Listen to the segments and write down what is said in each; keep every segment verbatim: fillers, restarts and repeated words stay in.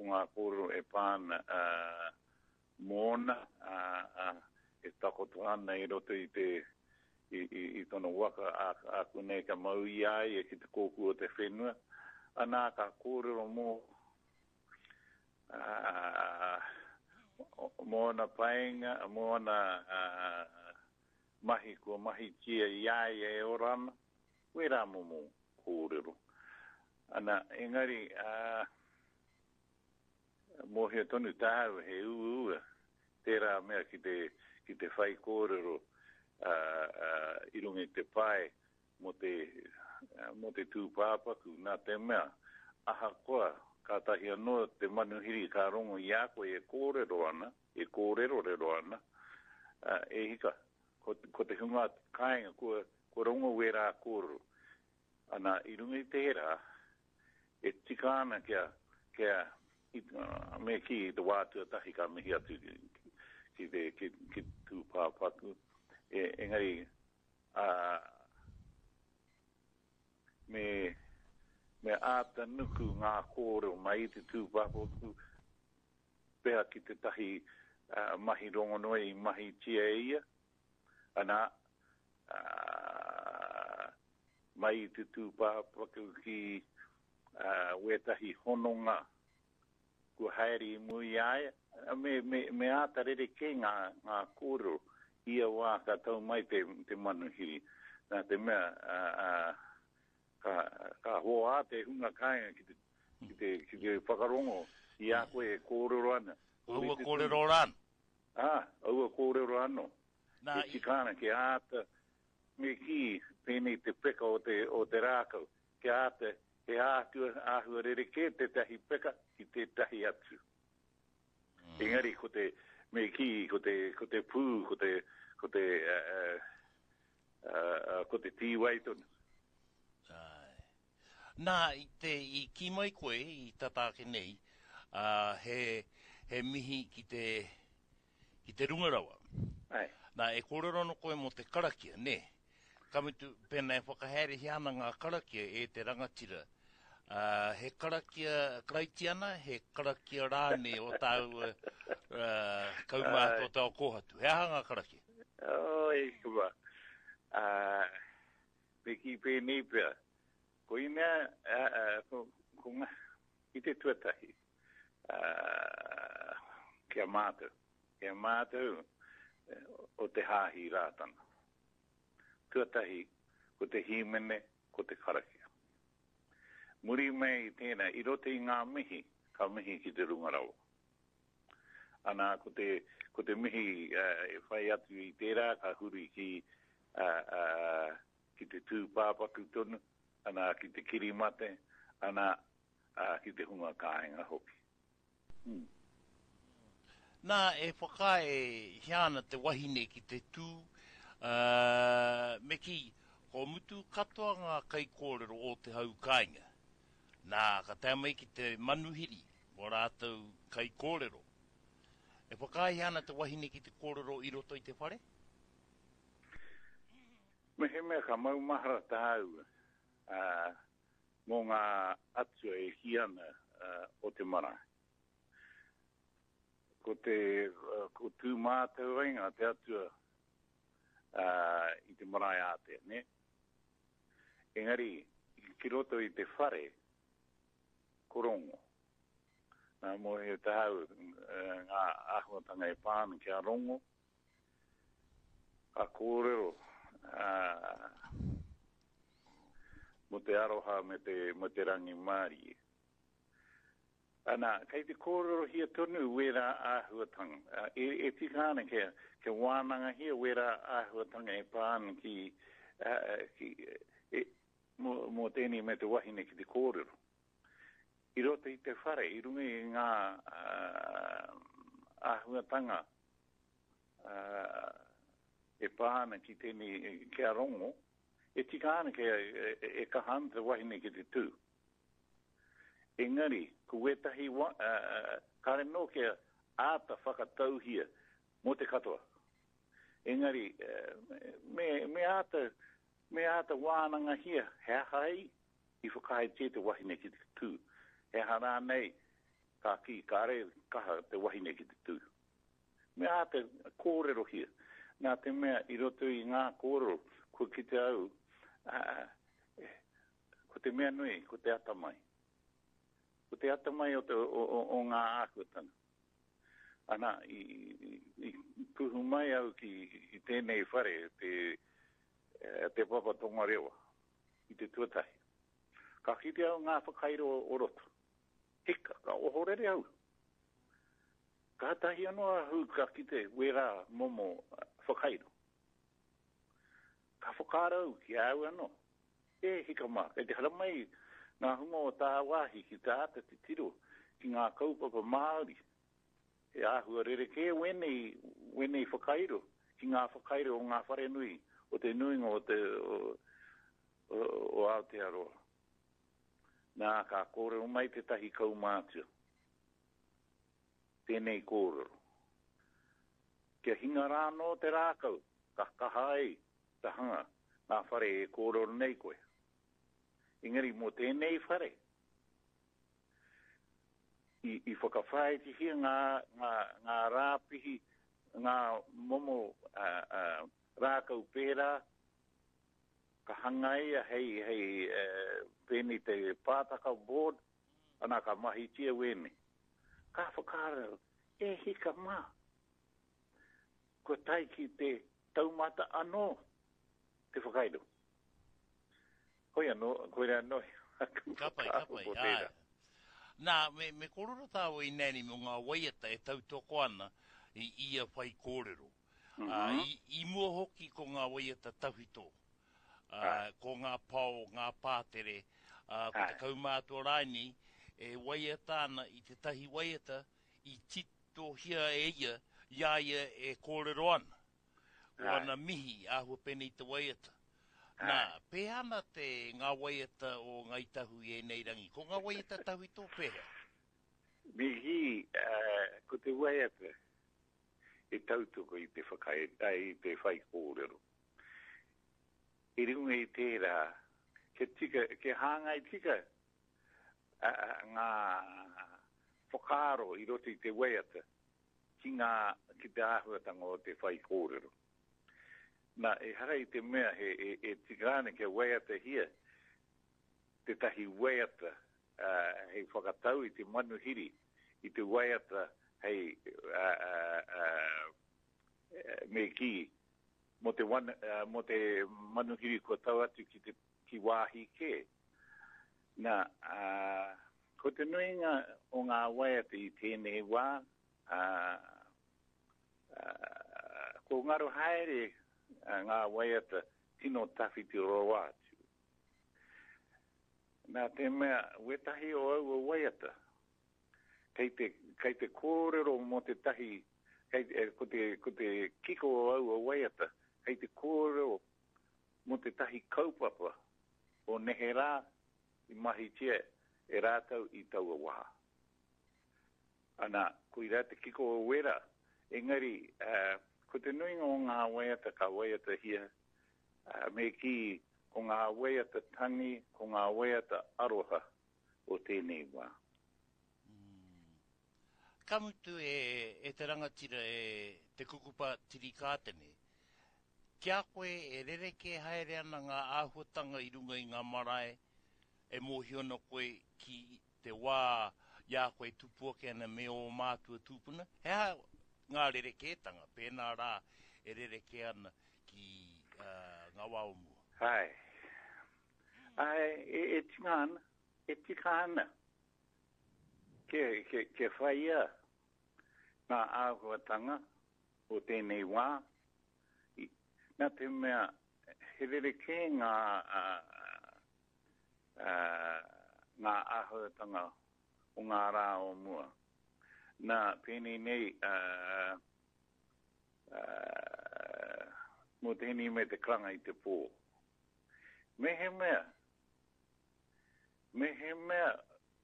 ngā kōrero e pā ana uh, mōna uh, uh, e takoto ana i roto i te i, i, i tona waka a, a konei ka mau i a ia ki te kōkū o te whenua. Anā ka kōrero mō uh, mō ana painga, mō ana uh, mahi kua mahitia i a ia e ora ana, wērā momo kōrero. Ana, engari, uh, mōhio tonu tāu he uaua tērā mea ki te, ki te whai kōrero uh, uh, i runga i te pae mō te, uh, mō te tūpāpaku, nā te mea, ahakoa, kātahi anō te manuhiri ka rongo i a koe e kōrero ana, e kōrerorero ana, uh, e hika, ko, ko te hunga kāinga kua, kua rongo wērā kōrero. Ana, i runga i tērā, e tika ana kia, kia i, uh, me kī i te wā tuatahi ka mihi atu ki, ki te ki, ki tūpāpaku. E, engari, uh, me, me āta nuku ngā kōrero mai i te tūpāpaku pea ki tētahi uh, mahi rongonui i mahitia e ia. Ana, uh, mai i te tūpāpaku ki uh, wētahi hononga kua haere i mua i a ia, me, me, me āta rerekē ngā, ngā kōrero ia wā ka tau mai te, te manuhiri. Nā te mea, uh, uh, ka, ka hoa te hunga kāinga ki te, ki te, ki te whakarongo i a koe e kōrero ana. Aua kōrero rāno. Ah, aua kōrero anō. Nā, E tika ana kia āta, me kī, pēnei te peka o te, o te rākau, kia āta, he āhua, āhua rerekē tētahi peka ki tētahi atu. Mm. Engari, ko te, me kī, ko te, ko te pū, ko te, ko te, uh, uh, uh, ko te tīwai tonu. Ai. Nā, i te, i kī mai koe i tata ake nei, uh, he, he mihi ki te, ki te runga rawa. Ai. Nā, e kōrero ana koe mō te karakia, nē? Ka mutu, pēnā e whakahaerehia ana ngā karakia e te rangatira. Uh, he karakia karaitiana, he karakia rānei o tāua uh, kaumātua o te ao kōhatu. He aha ngā karakia? Oh, e kua. Uh, me kī pēnei pea. Koinā, uh, uh, ko, ko ngā, i te tuatahi, uh, kia mātou, kia mātou o te hāhi Rātana. Tuatahi, ko te hīmene, ko te karakia. Muri mai i tēnā, i roto i ngā mihi, ka mihi ki te runga rawa. Ana, ko te, ko te mihi uh, e whai atu i tērā, ka huri ki, uh, uh, ki te tūpāpaku tonu, ana, ki te kirimate, ana, uh, ki te hunga kāinga hoki. Hmm. Nā, e whakaaehia ana te wahine ki te tū, uh, me kī, ko mutu katoa ngā kaikōrero o te hau kāinga. Nā, ka tae mai ki te manuhiri mō rātou kaikōrero. E whakaaehia ana te wahine ki te kōrero i roto i te whare? Mehemea ka maumahara tāua uh, mō ngā atua e kī ana uh, o te marae. Ko te, uh, ko Tūmātauenga te atua uh, i te marae ātea, ne? Engari, ki roto i te whare, ko Rongo. Nā, mōhio tāu uh, ngā āhuatanga e pā ana ki a Rongo, ka kōrero uh, mō te aroha me te, me te rangimārie. Ana, kei te kōrerohia tonu wērā āhuatanga. Uh, e, e tika ana kia, kia wānangahia wērā āhuatanga e pā ana ki, uh, ki e, mō, mō tēnei me te wahine ki te kōrero. I roto i te whare, i runga i ngā uh, āhuatanga uh, e pā ana ki tēnei, ki a Rongo, e tika ana kia e, e, e kaha ana te wahine ki te tū. Engari, ko wētahi wa, uh, kāre nō kia āta whakatauhia mō te katoa. Engari, uh, me, me āta, me āta wānangahia he aha ai i whakaaetia te wahine ki te tū. He aha rānei, Ka kī, kāre kaha te wahine ki te tū. Me āta kōrerohia. Nā te mea i roto i ngā kōrero, kua kite au, ā, ko te mea nui, ko te atamai. Ko te atamai o, te, o, o, o ngā āhuatanga. Ana, i, i, i kuhu mai au ki i tēnei whare, te, te Papa Tongarewa, i te tuatahi. Ka kite au ngā whakairo o roto. Hika, ka ohorere au. Kātahi anō ahu ka kite wērā momo whakairo. Ka whakaaro au ki a au anō. E hika mā, kei te haramai ngā hunga o tāwāhi ki te āta titiro ki ngā kaupapa Māori. He āhua rerekē wēnei, wēnei whakairo ki ngā whakairo o ngā wharenui o te nuinga o te o, o, o Aotearoa. Nā, ka kōrero mai tētahi kaumātua. Tēnei kōrero. Kia hinga rā anō te rākau, ka kaha ai te hanga ngā whare e kōrero nei koe. Engari mō tēnei whare, i, i whakawhāitihia ngā, ngā, ngā rāpihi, ngā momo uh, uh, rākau pērā, ka hangaia hei, hei uh, pēnei te pātaka board, ana ka mahitia wēnei. Ka whakaaro, e hika mā, kua tae ki te taumata anō te whakairo. Hoi anō, koira anō, aku Ka pai, ka whakaaro pai, ko āe. tērā. Nā, me, me kōrero tāua i nēni mō ngā waiata e tautoko ana i ia whai kōrero. Mm Ā, -hmm. i, i mua hoki ko ngā waiata tawhito, ā, Āe, ko ngā pao, ngā pātere, ā, ko te āe, kaumātua rānei e waiata ana i tētahi waiata i titohia e ia, i a ia e kōrero ana. Ko āe, ana mihi āhua pēnei te waiata. Nā, āe. pēhea ana te ngā waiata o Ngāi Tahu i ēnei rangi? Ko ngā waiata tawhito pēhea? Mihi, uh, ko te waiata e tautoko i te whakae, ai, i te whai kōrero. I runga i tērā, kia tika, kia hāngai tika uh, ngā whakaaro i roto i te waiata ki ngā, ki te āhuatanga o te whai kōrero. Nā, ehara i te mea he, e, e tika ana kia waiatahia tētahi waiata uh, hei whakatau i te manuhiri, i te waiata hei uh, uh, uh, me kī, mō te, wan, uh, mō te manuhiri kua tau atu ki te ki wāhi kē. Nā, uh, ko te nuinga o ngā waiata i tēnei wā, uh, uh, ko ngaro haere uh, ngā waiata tino tawhiti rawa atu. Nā te mea, wetahi o aua waiata, kei te, kei te kōrero mō te tahi, kei, eh, ko, te, ko te kiko o aua waiata, kei te kōrero mō te tahi kaupapa o neherā i mahitia e rātou i taua wā. Ana, koirā te kiko o wera, engari, uh, ko te nuinga o ngā waiata ka waiatahia, uh, me kī, ko ngā waiata tangi, ko ngā waiata aroha o tēnei wā. Mm. Ka mutu e, e te rangatira e te kukupa tirikātene, ki a koe e rerekē haere ana ngā āhuatanga i runga i ngā marae, e mōhio ana koe ki te wā i a koe tupu ake ana me ō mātua tūpuna, he aha ngā rerekētanga, pēnā rā e rerekē ana ki uh, ngā wā o mua. Ai, ai, e, e tika ana, e tika ana. Kia, kia, kia whaia ngā āhuatanga o tēnei wā, i, nā te mea, he rerekē ngā, uh, uh, ngā āhuatanga o ngā rā o mua. Nā, pēnei nei, uh, uh, mō tēnei me te karanga i te pō. Mehemea, mehemea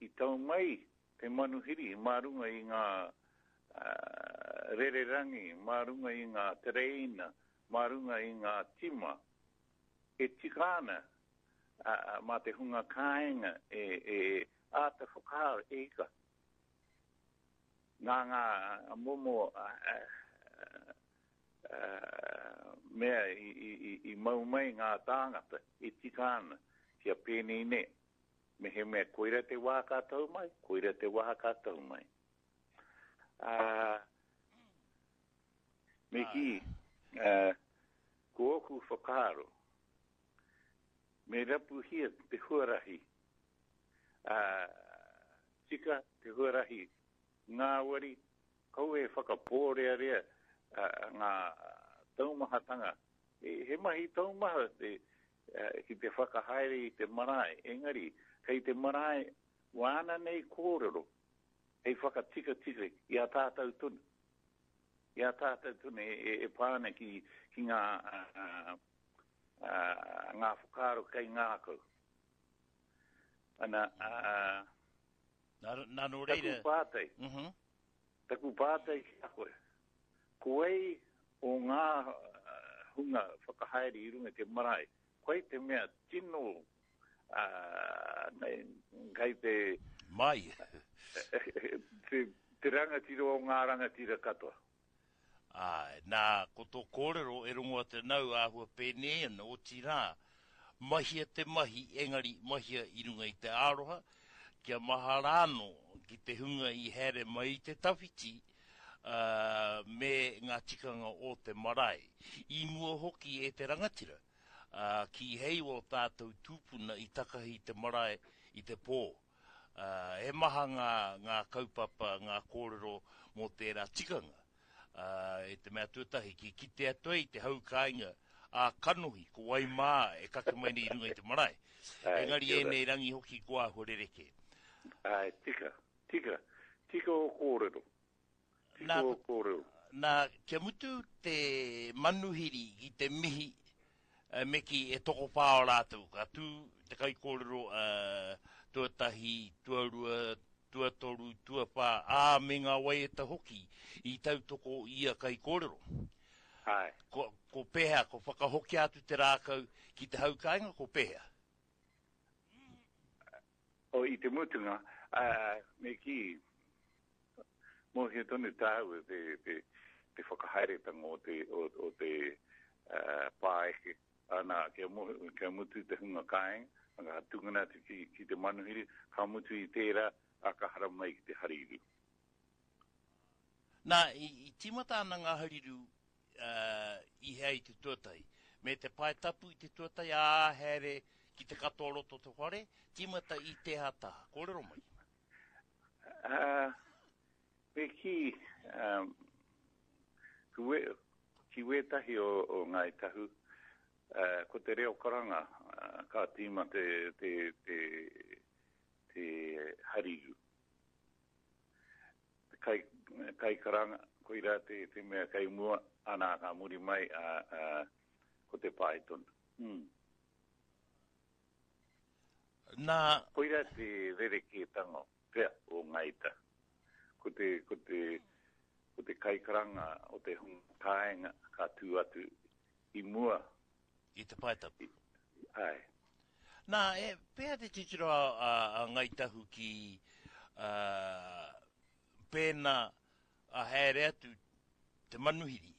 i tau mai te manuhiri mā runga i ngā uh, rererangi, mā runga i ngā tereina, mā runga i ngā tima, e tika ana uh, mā te hunga kāinga e, e āta whakaaro e ika. Nā ngā momo uh, uh, mea i, i, i, i mau mai ngā tāngata e tika ana kia pēnei nei. Me he mea koira te wā ka tau mai, koira te wā ka tau mai. Uh, me kī, uh, ko oku whakaaro, me rapuhia te huarahi, uh, tika te huarahi ngāwari, kau e whakapōrearea uh, ngā taumahatanga. E, he mahi taumaha te, uh, ki te whakahaere i te marae, engari, kei te marae wāna nei kōrero, hei whakatikatika i a tātou tonu. I a tātou tonu e, e, e pāna ki, ki ngā, uh, uh, ngā whakaaro kei ngākau. Ana, uh, Nā, nā nō reira... Taku pātai, mm -hmm. taku pātai ki a koe, ko ei o ngā hunga whakahaere i runga te marae, koe te mea tino uh, nei, kei te... Mai. te, te rangatira o ngā rangatira katoa. Ai, nā, ko tō kōrero e rongo atu nau āhua pēnei ana, otirā, mahia te mahi, engari mahia i runga i te aroha, kia mahara anō ki te hunga i haere mai i te tawhiti, uh, me ngā tikanga o te marae. I mua hoki e te rangatira, uh, ki hei o tātou tūpuna i takahi te marae i te pō. Uh, he maha ngā, ngā kaupapa, ngā kōrero mō tērā tikanga. Uh, e te mea tuatahi, ki kite atu ai te hau kāinga a kanohi, ko wai mā e kake mai nei i runga i te marae. Ai, Engari kia ora. ēnei rangi hoki ko āhua rerekē. Ai, tika, tika, tika o kōrero. Tika Nā, o kōrero. Nā, kia mutu te manuhiri ki te mihi, uh, me ki e tokowhā o rātou. Ka tū te kaikōrero uh, tuatahi, tuarua, tuatoru, tuawhā, ā, me ngā waiata hoki i tautoko ia kaikōrero. Ai. Ko, ko pēhea, ko whakahokia atu te rākau ki te hau kāinga, ko pēhea? O, i te mutunga, uh, me kī, mōhio tonu tāua te, te, te whakahaeretanga o te, o, o te uh, pāeke. Ana, kia, mohi, kia mutu te hunga kāinga, ka tungana atu ki, ki te manuhiri, ka mutu i tērā, a ka haramai ki te hariru. Nā, i, i tīmata ana ngā hariru uh, i hea i te tuatahi. Me te pae tapu i te tuatahi, ā, haere ki te katoa roto te whare, tīmata i te hataha. Kōrero mai. Uh, me kī, um, ki, we, ki wētahi o, o Ngāi Tahu, uh, ko te reo karanga, uh, ka tīma te, te, te, te hariru. Te kai, kai karanga, koirā te, te mea kai mua, ana ka muri mai, a, a, ko te pae tonu. Mm. Nā... Koirā te rerekētanga pea o Ngāi Tahu. Ko te, ko te, ko te kaikaranga o te hunga kāinga ka tū atu i mua. I te pae tapu. Ai. Nā, e, pēhea te titiro a, a, a Ngāi Tahu ki uh, pēnā a haere atu te manuhiri,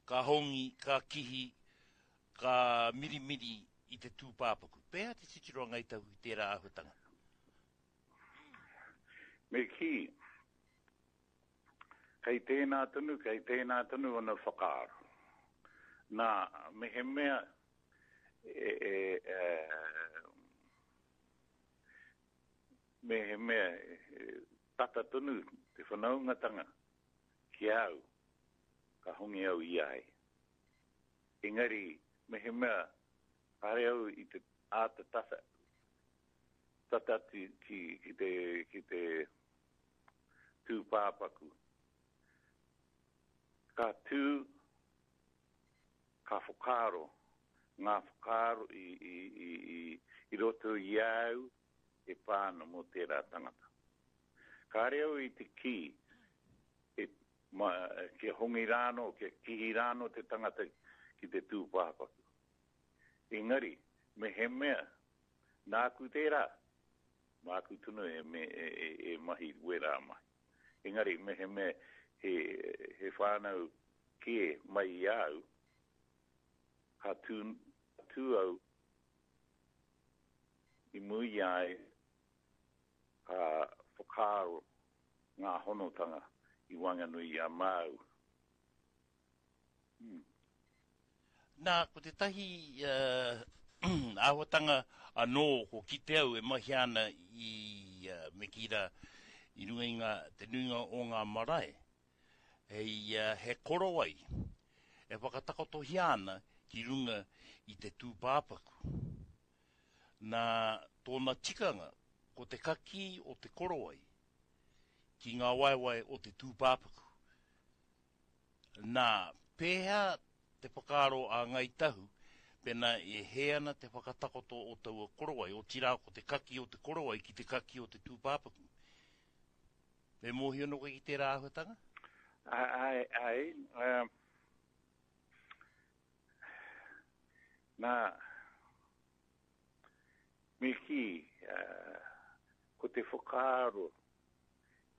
ka hongi, ka kihi, ka mirimiri i te tūpāpaku. Pēhea te titiro a Ngāi Tahu ki tērā āhuatanga? Me kī, kei tēnā tonu, kei tēnā tonu ona whakaaro. Nā, me he mea, e, e, e, me he mea, e, tata tonu te whanaungatanga ki au, ka hongi au i ai. Engari, me he mea, kāre au i te āta tata, tata atu ki, ki te, ki te tūpāpaku. Ka tū, ka whakaaro, ngā whakaaro i, i, i, i, i roto i au e pāna mō tērā tangata. Kāre au i te kī, e, ma, kia hongi rāno, kia kihi rāno te tangata ki te tūpāpaku. Engari, me he mea, nāku tērā, māku tonu e, me, e, e, e mahi wērā mahi. Engari, mehemea he, he whānau kē mai i au, ka tū, tū au i mua i a ia, ka whakaaro ngā honotanga i waenganui i a māu. Hmm. Nā, ko tētahi uh, āhuatanga anō ko kite au e mahi ana i, uh, me kī rā, i runga i ngā, te nuinga o ngā marae, hei, uh, he korowai e whakatakotohia ana ki runga i te tūpāpaku. Nā, tōna tikanga, ko te kakī o te korowai ki ngā waewae o te tūpāpaku. Nā, pēhea te whakaaro a Ngāi Tahu, pēnā e hē ana te whakatakoto o taua korowai, otirā ko te kaki o te korowai ki te kaki o te tūpāpaku. Me mōhio anō koe ki tērā āhuatanga? Āe, āe, um, nā, me kī, uh, ko te whakaaro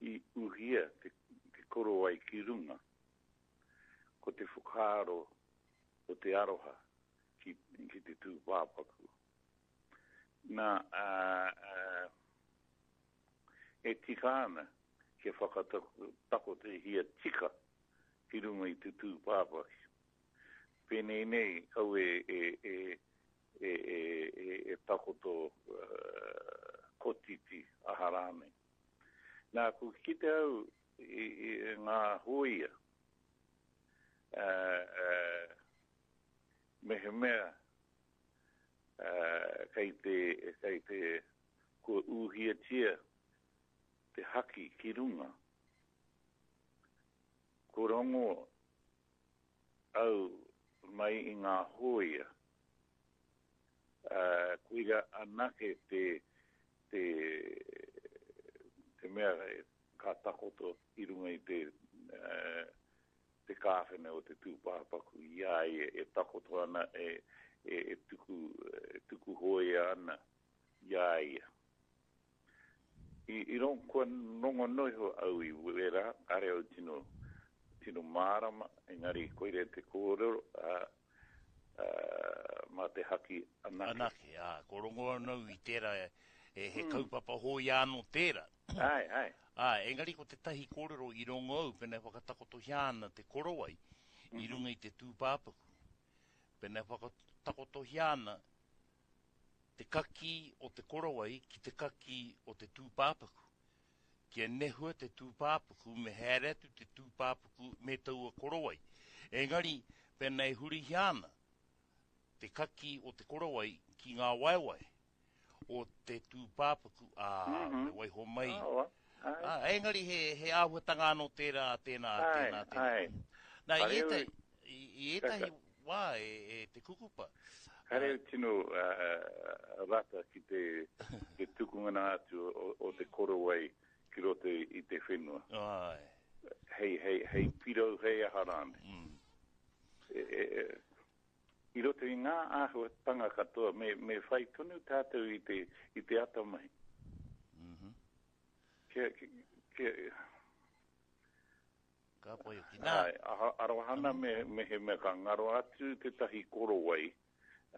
i uhia te, te korowai ki runga, ko te whakaaro o te aroha ki, ki te tūpāpaku. Nā, uh, uh, e tika ana kia whakatakotohia tika ki runga i te tūpāpaku. Pēnei nei, kau e, e, e, e, e, e, e takoto uh, kotiti aha rānei. Nā, ko kite au i, i ngā hōia, uh, uh, mehemea uh, kei te, kei te kua uhiatia te haki ki runga, ko rongo au mai i ngā hōia, uh, koira anake te, te, te mea ka takoto i runga i te, uh, te kāwhene o te tūpāpaku i a ia e takoto ana, e, e, e tuku, e tuku hōia ana i a ia. I, i ron, kua rongo noa iho au i wērā, kāre au tino, tino mārama, engari koira te kōrero, a, a, mā te haki anake. Anake, ā, ko rongo anō i tērā, e, he kaupapa hōia anō tērā. Āe, āe. Ā, engari ko tētahi kōrero i rongo au, pēnā e whakatakotohia ana te korowai i runga i te tūpāpaku. Pēnā e whakatakotohia ana te kakī o te korowai ki te kakī o te tūpāpaku. Kia nehua te tūpāpaku, me haere atu te tūpāpaku me taua korowai. Engari, pēnā e hurihia ana te kakī o te korowai ki ngā waewae o te tūpāpaku, ā, me waiho mai. Ā, engari he, he āhuatanga anō tērā, tēnā, tēnā, tēnā. Nā, i ētahi, i, i ētahi wā e, e te kukupa. Kāre au tino uh, rata ki te, te tukungana atu o, o te korowai ki roto i te whenua. Āe. Hei, hei, hei pirau, hei aha rānei. Mm. E, e, e, i roto i ngā āhuatanga katoa, me, me whai tonu tātou i te, i te atamai. Mm-hmm. Kia, kia, kia, Ka pai hoki. Nā. Āe, aha, arohana me, me he mea ka ngaro atu tētahi korowai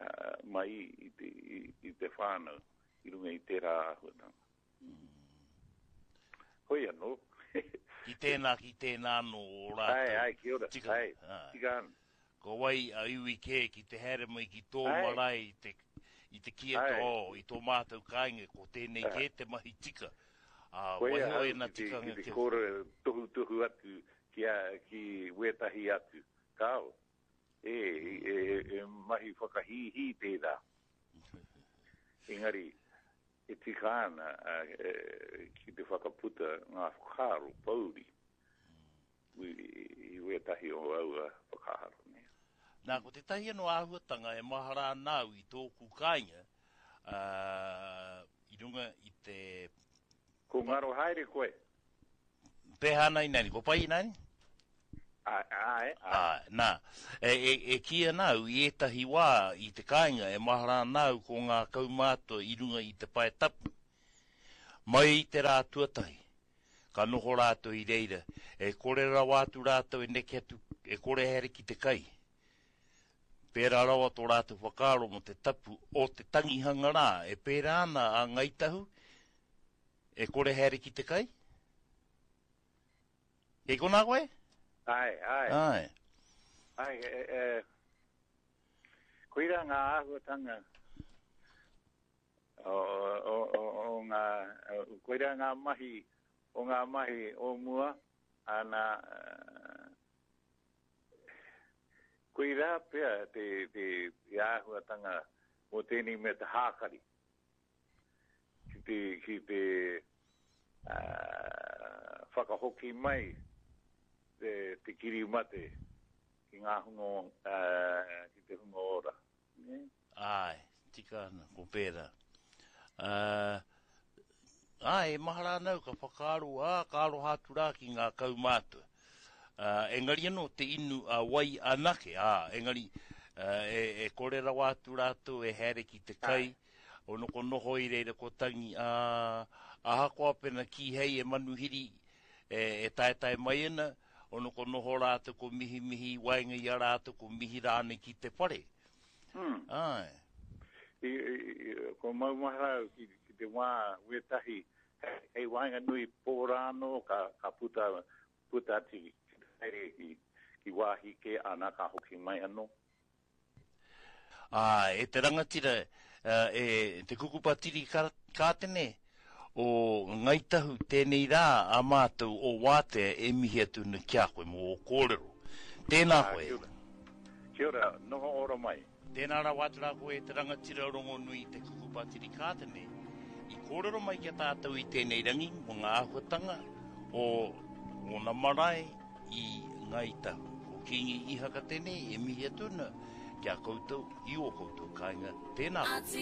uh, mai i te, i, i te whānau i runga i tērā āhuatanga. Mm. Hoi anō. Ki tēnā, ki tēnā anō o rātou. Āe, āe, kia ora. Tika, Āe, āe. tika ana. Ko wai a iwi kē ki te haere mai ki tō Āe. marae i te, i te kī atu, Āe. oh, i tō mātou kāinga, ko tēnei Āe. kē te mahi tika. Ā, Koia waiho au ēnā ki te, tikanga ki te kia kōrero tohutohu atu ki, a, ki wētahi atu. Kāo, e, e, e mahi whakahīhī tērā. Engari, e tika ana a, e, ki te whakaputa ngā whakaaro pōuri i, i wētahi o aua whakaaro. Nei. Nā, ko tētahi anō āhuatanga e mahara ana au i tōku kāinga, uh, i runga i te... Ko ngaro haere koe? Pēhea ana ināianei, ko pai ināianei? Āe, āe, āe. Āe, nā, e, e, e kī ana au i ētahi wā i te kāinga e mahara ana au ko ngā kaumātua i runga i te pae tapu. Mai i te rā tuatahi, Ka noho rātou i reira. E kore rawa atu rātou e neke atu, e kore haere ki te kai. Pērā rawa tō rātou whakaaro mō te tapu o te tangihanga rā. E pērā ana a Ngāi Tahu, e kore haere ki te kai? Kei konā koe? Ai, ai. Ai. Ai, e, e, koira ngā āhuatanga o, o, o, o ngā, koira ngā mahi, o ngā mahi o mua, ana, koira pea te, te, te āhuatanga o tēnei me te hākari. Ki te, ki te uh, whakahoki mai te, te kiri mate ki ngā hunga, uh, ki te hunga ora. Ne? Ai, tika ana, ko pērā. Uh, ai, e mahara ana au ka whakaaro, ā, ka aroha atu rā ki ngā kaumātua. Uh, engari anō te inu a wai anake, ā, engari uh, e, e kore rawa atu rātou e haere ki te kai, o noko noho i reira ko tangi, ā, ahakoa pena kīhei e manuhiri e, e taetae mai ana, o noko noho rātou ko mihimihi i waenga i a rātou ko mihi rānei ki te whare. Hmm. Ai. I, i, ko maumahara au ki, ki te wā wētahi, hei, hei waenganui pō rānō ka, ka puta, puta atu ki te haere ki, ki wāhi kē ana ka hoki mai anō. Ā, e te rangatira, e te kukupatiri kātene o Ngāi Tahu, tēnei rā a mātou o Wātea e mihi atu ana ki a koe mō ō kōrero. Tēnā koe. Kia ora. Kia ora, noho ora mai. Tēnā rawa atu rā koe e te rangatira rongonui te kukupatiri kātene i kōrero mai ki a tātou i tēnei rangi mō ngā āhuatanga o ōna marae i Ngāi Tahu. Ko Kīngi Ihaka tēnei e mihi atu ana ki a koutou i ō koutou kāinga. Tēnā koutou.